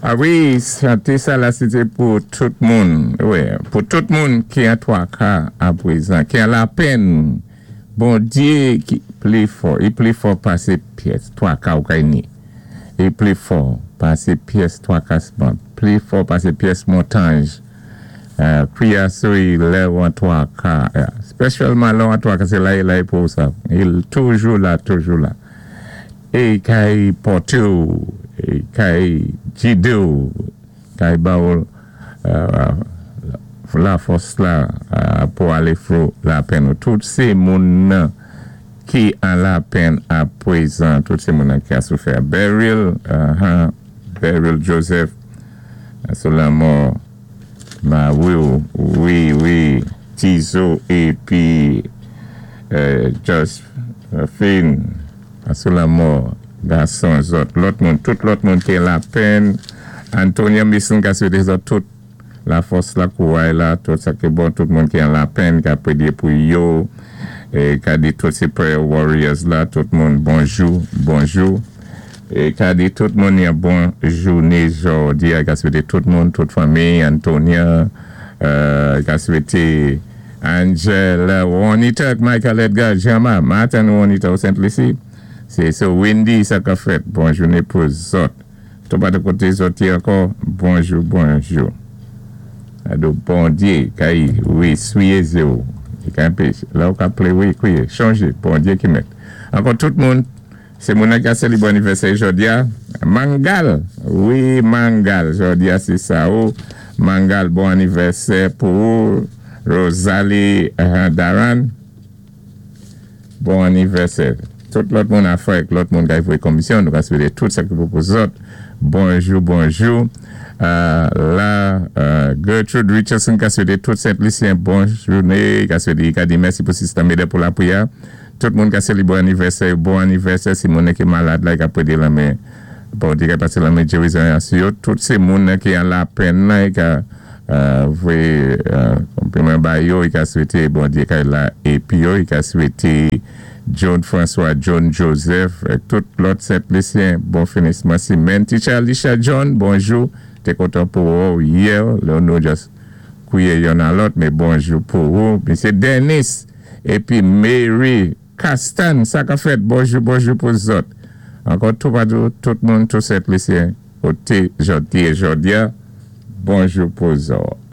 A wi, chanté sa la, sé té pou tout moun, wi, pou tout moun ki an twaka apwézan, ki an lapenn. Bondyé ki pli fò, i pli fò pasé pyès twaka ou kay ni. I pli fò pasé pyès twakasman, pli fò pasé pyès montanj. Kwiyé sou i lè ou an twaka, spesyalman lè ou an twaka, sé la i la pou ou sa. I toujou la, toujou la. É i kay pòté ou, i kay jidé ou, kay ba ou lafòs la pou alé fro lapenn ou. Tout sé moun nan ki an lapenn apwézan, tout sé moun nan ki a soufè. Beryl, Beryl Joseph, sou lanmò mari ou, wi, Tizo épi Josephine, sou lanmò gason zòt, lòt moun, tout lòt moun ki an lapenn. Antonia Mason ka swété zòt tout lafòs la, kouray la, tout sa ki bon, tout moun ki an lapenn ka pwédyé pou yo, é ka di tout sé prayer warriors la, tout moun bonjou, bonjou. É ka di tout moun yon bon jouné jòdi a, ka swété tout moun, tout fanmi Antonia, ka swété Angela, Juanita ak Michael Edgar, Jama, Martin Juanita ou Sent Lisi, sé so Wendy sa ka fèt, bon jouné pou zòt. Toupatou koté zòt yé ankò, bonjou, bonjou. Ado Bondyé kay wi swiyé zyé ou, i ka anpeché, lè ou ka plé wi kwiyé, chonjé, Bondyé ki mèt. Ankò tout moun, sé moun nan ki ka sélébré anivèsè jòdi a, Mangal, wi Mangal, jòdi a sé sa ou, Mangal bon anivèsè pou ou, Rosalie Daran. Bon anivèsè tout lòt moun afè ak lòt moun kay voyé konmisyon, nou ka swété tout sa ki bon pou zòt. Bonjou, bonjou la Gertrude Richardson ka swété tout Sent Lisyen bon jouné, ka swété, ka di mèsi pou Sista Meda pou lapriyè. Tout moun ka sélébwé anivèsè yo, bon anivèsè. Si moun nan ki malad la, i ka pwédé lanmen Bondye, ka pasé lanmen gerizon an sou yo. Tout sé moun nan ki an lapenn nan, i ka voyé konpliman ba yo, i ka swété Bondye kay la épi yo, i ka swété John François, John Joseph, tout lòt Sent Lisyen bon finisman simèn. Teacher Alicia John, bonjou, té kontan pou wè w yè, lè nou just kwiye yonn a lòt, men bonjou pou ou. Misye Dennis épi Mary Castan, sa ka fèt, bonjou, bonjou pou zòt. Ankò toupatou, tout moun, tout Sent Lisyen, koté zòt yé jòdi a, bonjou pou zòt.